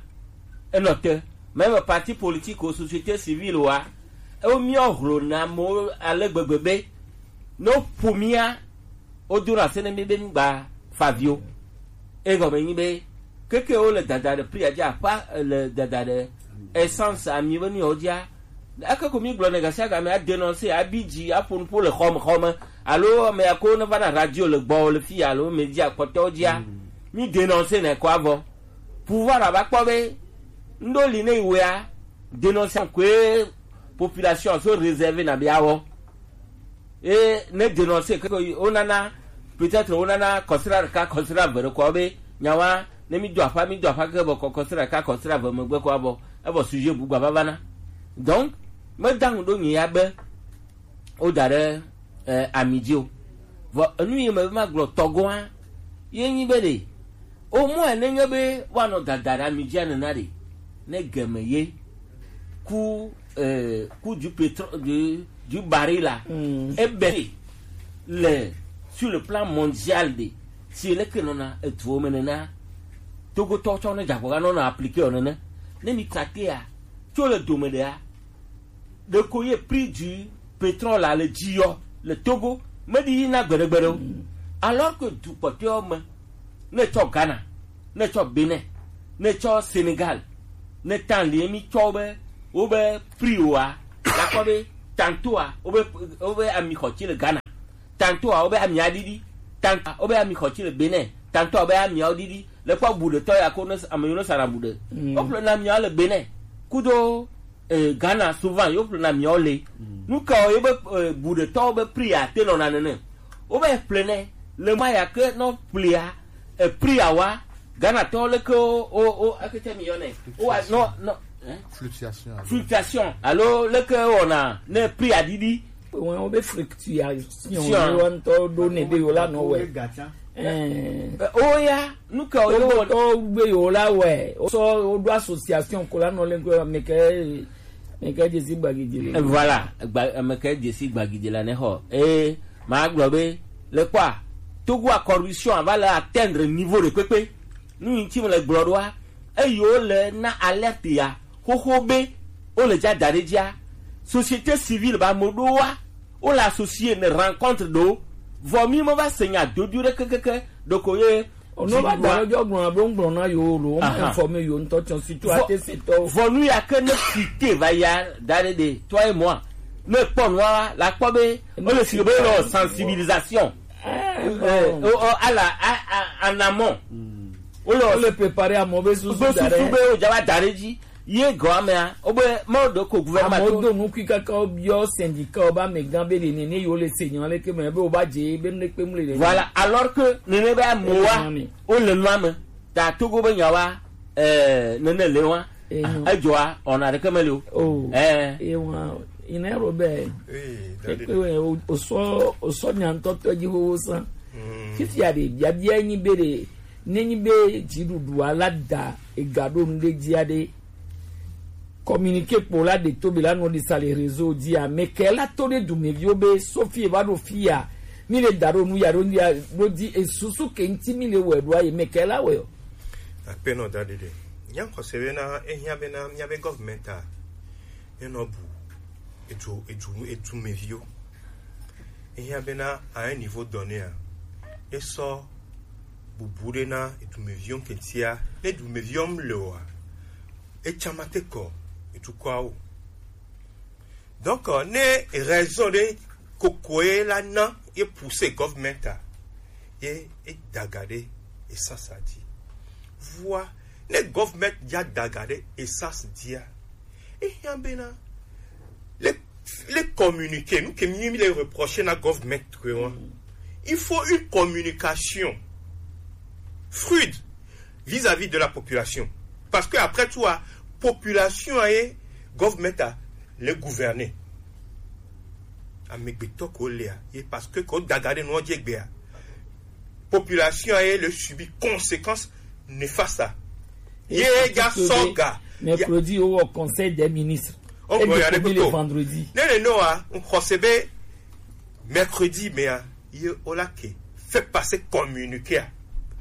enɔ te. Même parti politique o, société civile oa, ewo miawo hlona amewo ale gbegbe be, ne woƒo mia, wodona se ne mi be migba fa avi o. Egɔme nyi be, keke wo le dada ɖe prix adzi aƒa, eh, le dada ɖe essence ami be nu yawo dzia. Eke ko mi gblɔ ne gasiagame a dénoncer, abi dzi, aƒo nuƒo le xɔme xɔme. Alo ame ya ko ne va na radio le gbɔ le fi alo medzi akpɔtɔwo dzia. Mm. Mi dénoncer ne kɔ avɔ. Pouvoir ava kpɔ be, ŋɖo li ne yi wea, dénoncer koe population so réservé na be awɔ. E ne dénoncer ke ko wonana, peut-être wonana kɔsiɖa ɖeka, kɔsiɖa eve ɖe kɔ be nyawa, ne mi do aƒa, mi do aƒa ke bɔ kɔ kɔsiɖa ɖeka, kɔsiɖa eve megbe kɔ abɔ, evɔ sujet bu gba vava na. Donc, me da ŋu ɖo nyi ya be, wo da ɖe, eh, ami dzi o. Vɔ enu yi me be magblɔ tɔgɔa, ye nyi be ɖe, Au moins, nenye be woanɔ dada ɖe ami dzia nena ɖe, ne game ye, coût, euh, coût du pétrole, du, du baril la, mm, ebe le, sur le plan mondial ɖe, si leke nɔna eduwo me nena, Togotɔwo tsɔ ne dzagbɔ ga nɔna appliquer o nene. Ne mi traquer ya, tso le dome ɖea, ɖeko ye prix du pétrole la le dzi yɔ le Togo, meɖi yi na gbeɖegbeɖe o. Mm. Alors que du kpɔtɔewo me, ne tsɔ Ghana, ne tsɔ Benin, ne tsɔ Sénégal, ne tan li mi tsɔ wobe, wobe prix oa, lakɔ be tantôt a, wobe, wobe ami xɔ tsi le Ghana, tantôt a, wobe ami aɖiɖi, tantôt a, wobe ami xɔ tsi le Benin, tantôt a, wobe ami awo ɖiɖi, le kpɔ bu ɖe tɔ ya ko ne ame yiwo ne sana bu ɖe. Mm. Wo ƒle na mi le Benin, kudo eh, Ghana souvent yo ƒlena miawo le. Mm. Nu ka ye be, eh, bu ɖetɔwo be prix ate nɔna nene. Wo be ƒlenɛ le ma ya ke nɔ ƒlea, eh, prix awa Ghana tɔwo leke o, o, o, akete mi yɔnɛ. O wa, no, no, eh? Fluctuation. Fluctuation. Alo leke wɔna ne prix aɖiɖi. Wọn wo be fluctuation. Sion. Wo ŋutɔ ɖo ne be yo la nɔ wɛ. Ɛɛ. Ɛ, o ya, nu ka o yɔ wɔ? Tɔgotɔwo be yewo la wɔe, wosɔ, woɖo association ko la nɔ le ŋkɔ, meke, meke dzesi gbagidze le. Ɛ, voilà, gba, meke dzesi gbagidze la ne xɔ. Ee, ma gblɔ be, le kpɔa, Togo a corruption va le atteindre niveau ɖe kpekpe. Nu yi ŋuti me le gblɔ ɖoa, eyi wo le na alerte ya, xoxo be, wo le dza da ɖe dzia, société civile ba mo ɖo wa, wo le associé ne rencontre ɖo, vɔ mi me va se nya dodo ɖe kekeke ɖoko ye. Ono va da lɔ jɔ gblɔna be ŋgblɔ na yo lo, ma informe yo ŋutɔ tiɔn surtout ate se tɔ. Vɔ nu ya ke ne fite va ya da ɖe ɖe toi et moi ne kpɔ nua la kpɔ be o le si be le sensibilisation. Eh, o o ala a a en amont. O le o le préparer à mauvais susu da ɖe. Be o ja va da ɖe dzi. Ye gɔa mea, wobe Mawu ɖe ko gouvernement. Amewo do nukui kaka wobiɔ syndicat wo be amegã be ɖe nene yewo le se nya leke me be woba dze be nu ɖe kpe mu le nene. Voilà, alors que nene be amewoa wole nua me. Ta Togo be nyawoa, eh, nene le wa. Edzɔa, ɔna ɖeke me le o. Oh. Eh. Ewa, ina Robert. Ekpe we o sɔ o sɔ nya ŋutɔ tɔ dzi xoxo san. Fifia ɖe biabia nyi be ɖe Ne nyi be dziɖuɖua la da ega ɖo nu ɖe dzia ɖe, communiqué kpo la ɖe to be la nɔ ɖi sa le réseau dzia, mɛ kɛ la to ɖe dumeviwo be sofi va ɖo fia, mi le da ɖo nu ya ɖo ya ɖo di esusu ke ŋti mi le wɛ ɖo aye mɛ kɛ la wɛ o. Apenɔ da ɖeɖe. Nya xɔse be na ehia be na mia be government a enɔ bu edu edu edumeviwo. Ehiã bena à un niveau donné a, esɔ bubu ɖe na edumeviwo ŋketia. Ne edumeviwo le oa, etsã ma te kɔ etukɔawo. Donc ne raison ɖe kokoe la na ye pousser government a ye edaga ɖe essence a dzi. Vua ne government ya daga ɖe essence dzia, ehiã bena le le communiqué, nous que mi le reprocher na government que on. Il faut une communication fluide vis-à-vis de la population. Parce que après tout, la population et government a le gouverner. Amegbetɔ ko lea, ye parce que ko daga ɖe nua dzi egbea, population a ye le subir conséquence néfaste a. Ye ja sɔga. Mercredi o wɔ conseil des ministres. O gbɔ ya ɖe le kpekpe o. Vendredi. Ne ne no a, n xɔse be mercredi mea, ye o la ke fait passer communiqué a.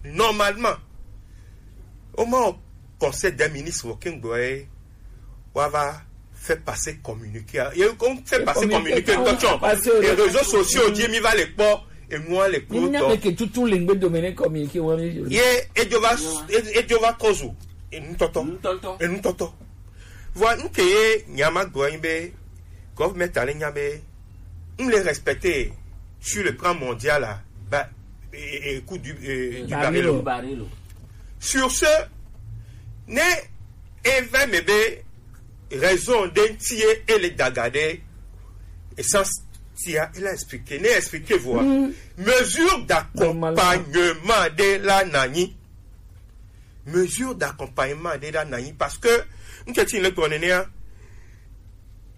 Normalement, o ma o conseil des ministres wɔ ke n gbɔ ye wa va fait passer communiqué a. Ye ko fait passer communiqué ŋutɔ tsɔ. Et réseaux sociaux dzi mi va le kpɔ, enua le kpɔ. Ni nya tɔ. Be ke tutu le ŋgbe dome ne communiqué wa mi. Ye edzo va edzo va kɔzu enutɔtɔ. Enutɔtɔ. Enutɔtɔ. Vɔ nu ke ye nya ma gblɔ nyi be government a le nya be n le respecter sur le plan mondial la ba e, e, e, coût du, e, du baril. Baril. Sur ce, ne eve me be raison ɖe ŋti ye ele daga ɖe essence tia, il a expliqué, ne expliqué voa. Mesure d'accompagnement de la nanyi. Mesure d'accompagnement de la nanyi parce que n ke ti le gblɔ nenea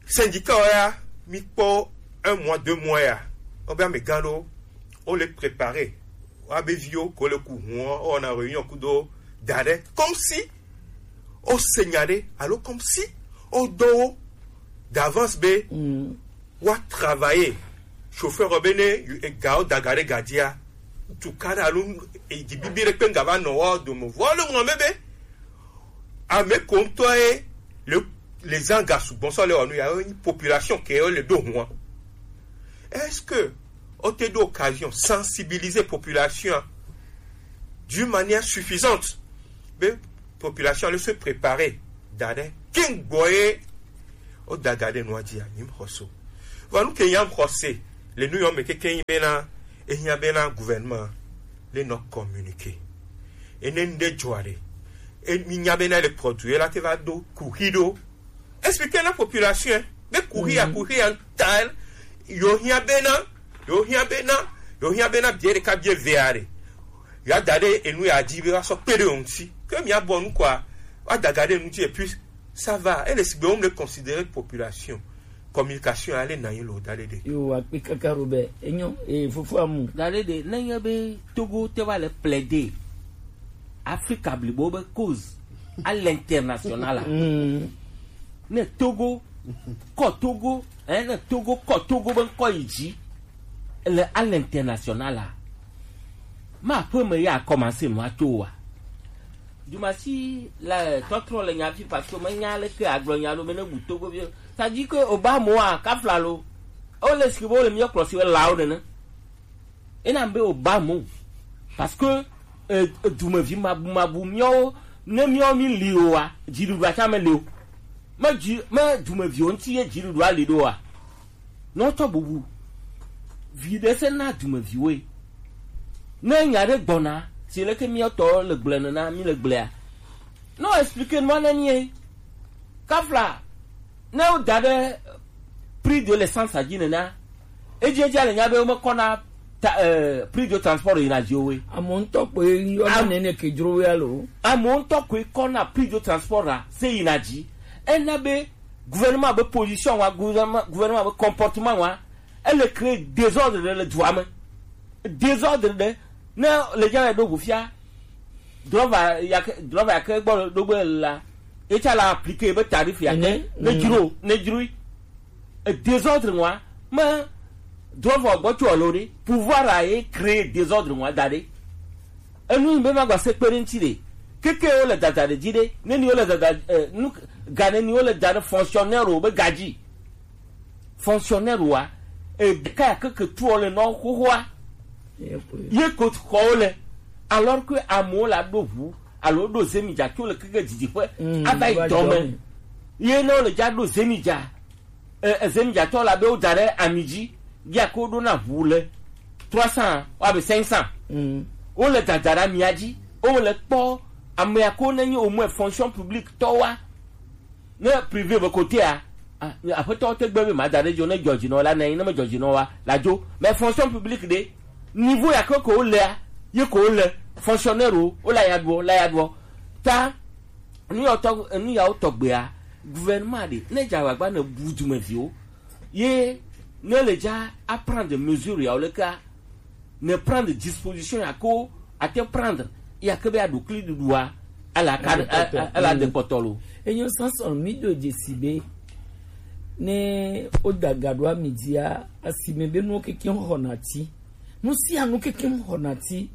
syndicat ya mi kpɔ un mois deux mois ya, o be amegã ɖo o le préparer wa be viwo ko le ku hun o na réunion kudo da ɖe comme si o se nya ɖe alo comme si o do wo d'avance be wa travailler chauffeur be ne ega o daga ɖe ga dzia tukaɖa alo edzibibi ɖe kpe ŋga va nɔ wa dome vɔ le ŋlɔ me be ame ko ŋutɔ ye le le zã ga sugbɔ sɔ le wɔ nu ya ye population ke le ɖo hua. Est-ce que o te ɖo occasion sensibiliser population d'une manière suffisante be population le se préparer da ɖe ke ŋgbɔ ye o daga ɖe nua dzia nyim xɔso. Vɔ nu ke nyam xɔse le nu yɔ me keke nyi bena ehiã bena gouvernement le nɔ communiqué. Ene ŋɖe dzɔa ɖe e mi nya bena le produit la te va do kuxi ɖo. Expliquer na population be kuxi ya kuxi ya ta yo hiã bena yo hiã bena yo hiã bena bie ɖeka bie ve aɖe ya da ɖe enu ya dzi be wa sɔ kpe ɖe o ŋuti ke mia bɔ nu kɔa wa daga ɖe nu dzi et puis ça va. Ele sigbe wo me considérer population communication ale na yin lo da ɖe ɖe. Yo akpe kaka Robert enyo e fofo amu. Da ɖe ɖe ne nye be Togo te va le plaider Afrika blibo be cause à l'international la. Ne Togo kɔ Togo eh, ne Togo kɔ Togo be ŋkɔ yi dzi le à l'international a ma ƒe me ya commencer nua to wa. Dumasi le tɔtrɔ le nya fi parce que menya leke agblɔ nya lo mene bu Togo bi. Ça dit que Obama a kafla lo. O le sike bo le miɔ kplɔ si we lawo nene. Ena be Obama parce que eh, dumevi mabu mabu miɔ ne miɔ mi li o wa. Dziɖuɖu atsa me li o. Me dzi me dumeviwo ŋuti ye dziɖuɖu ali ɖo wa. Ne wotsɔ bubu vi ɖe se na dumeviwoe. Ne nya ɖe gbɔna, si leke míatɔ le gblẽ nena, mí le gblẽa. Ne wo expliquer nua ne mie. Kafla, ne woda ɖe prix de l'essence dzi nena, edzi edzi le nya be womekɔna ta, eh, prix de transport yina dzi owe. Amewo ŋutɔ koe yɔna Am- nene ke dzro woe alo? Amewo ŋutɔ koe kɔna prix de transport a se yina dzi. Ena be gouvernement be position wa, gouvernement, gouvernement be comportement wa, ele créer désordre ɖe le dua me. Désordre ɖe ne le nya ɖo ʋu fia. Drɔva yake drɔva yake gbɔ ɖo gbe la, etsa la appliquer be tarif yake Mhm. ne dzro ne dzroe. E désordre wa me drɔva gbɔ tso alo ɖe pouvoir a ye créer désordre wa da ɖe. Enu yi be ma gba se kpe ɖe ŋuti ɖe. Keke wo le dada ɖe dzi ɖe. Ne ni wo le dada eh, nu ga ne ni wo le da ɖe fonctionnaire wo be gadzi. Fonctionnaire wa e ɖeka ya keke tuɔ le nɔ xoxoa. Ye ko xɔ wo le. Alors que amewo la ɖo ʋu alo ɖo zemi dza tso le keke didi ƒe Mm, ava yi va dɔ me. Dɔ me. Ye ne wo le dza ɖo zemi dza. E, e zemi dza tɔ la be wo da ɖe ami dzi. Ya ko ɖo na ʋu le trois cents wa be cinq cents. Mm. Wo le dada ɖe amia dzi. Wo le kpɔ amea ko ne nyi au moins fonction publique tɔ wa. Ne privé be kotea, ah, aƒetɔwo te gbe be ma da ɖe dzo ne dzɔdzinɔ la ne ne me dzɔdzinɔ wa la dzo. Mais fonction publique ɖe niveau ya ke ko wo lea, ye ko wo le fonctionnaire wo la ya ɖuɔ la ya ɖuɔ. Ta nu ya tɔ nu ya wo tɔgbea gouvernement ɖe ne dza agbagba ne bu dumeviwo ye ne le dza a prendre mesure ya wo le ka ne prendre disposition ya ko ate prendre ya ke be aɖukli ɖuɖua ala ka Aɖe kpɔtɔ. Ala de kpɔtɔ lo. Enyo sɔsɔ mi do dzesi be ne wo da ga ɖo ami dzia asime be nuwo keke xɔna ti. Nu sia nu keke xɔna ti.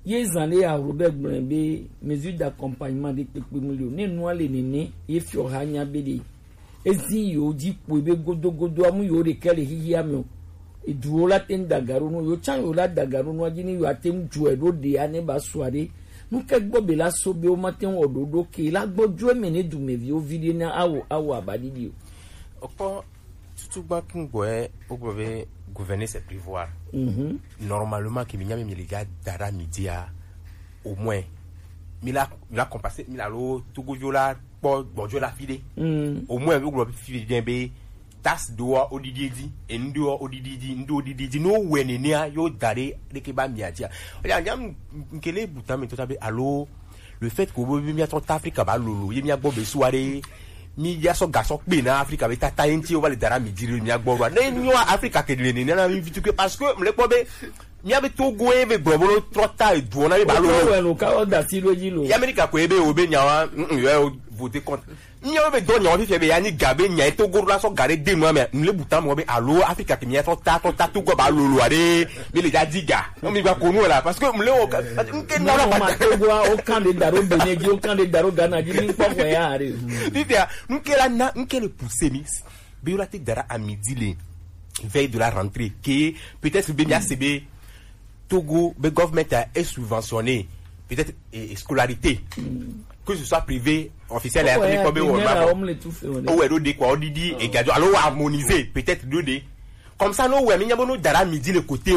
Ye zan ɖe ya ro be gblɔe be mesure d'accompagnement ɖe kpekpe mu le o. Ne nua le nene ye fiɔ ha nya be ɖe ezi yewo dzi kpoe be godogodo amu yewo ɖeka le xixia me o. Eduwo la te ŋu da ga ɖo nu yewo tsã yewo la da ga ɖo nua dzi ne yewo ate ŋu dzɔe ɖo ɖea ne ba sua ɖe. Nu ke gbɔ be la so be wo mate ŋu wɔ ɖoɖo ke la gbɔ dzo eme ne dumeviwo vi ɖe na awo awo abaɖiɖi o. Okpɔ tutu gba kun gbɔɛ wogblɔ be gouverner c'est prévoir. Mhm. Normalement ke mi nya mi mi le ga da ɖa mi dia au moins mi la mi la compenser mi la lo togojo la kpɔ gbɔdzɔ la fi ɖe. Mm. Au moins wogblɔ fi ɖe be taxe ɖoa wo ɖiɖi edzi, enu ɖoa wo ɖiɖi edzi, ŋɖo wo ɖiɖi edzi. Ne wowɔe nenea, yewo da ɖe ɖeke ba mia dzia. Oya nya nke le bu tame tota be alo le fait que wo be mia tɔ ta Afrika ba lolo ye mia gbɔ be su aɖe mi ya sɔ gasɔ kpe na Afrika be tata ye ŋti wo va le da ɖe mi dzi ɖe mia gbɔ ɖoa. Ne nyo Afrika ke le nenea na mi vitu ke parce que mle kpɔ be mia be Togo ye be gblɔ be trɔ ta eduɔ na mi ba lolo. Wɔ lo ka wɔ da si ɖo dzi lo. Ya Amerika ko ye be wo be nyawa, mm, mm, yo voter contre. Míawo be dɔ nyawo fifia be ya nyi ga be nya eto goro la sɔ ga ɖe de nua me. Mle buta mɔ be alo Afrika ke mia tɔ ta tɔ ta to gɔ ba lolo aɖe. Mi le ja di ga. No mi gba ko nu la parce que mle wo ka nke na la ma to gwa o kan de daro Benin dzi o kan de daro Ghana dzi mi kpɔ ko ya re. Fifia nke la na nke le pousser mi. Be la te dara à midi le veille de la rentrée que peut-être be mia se be Togo be government a est subventionné peut-être et, et scolarité que ce soit privé officiel ya ko be wo ma o we do de quoi o didi et gadio alors harmoniser peut-être do de comme ça no we mi nya bo no dara midi le côté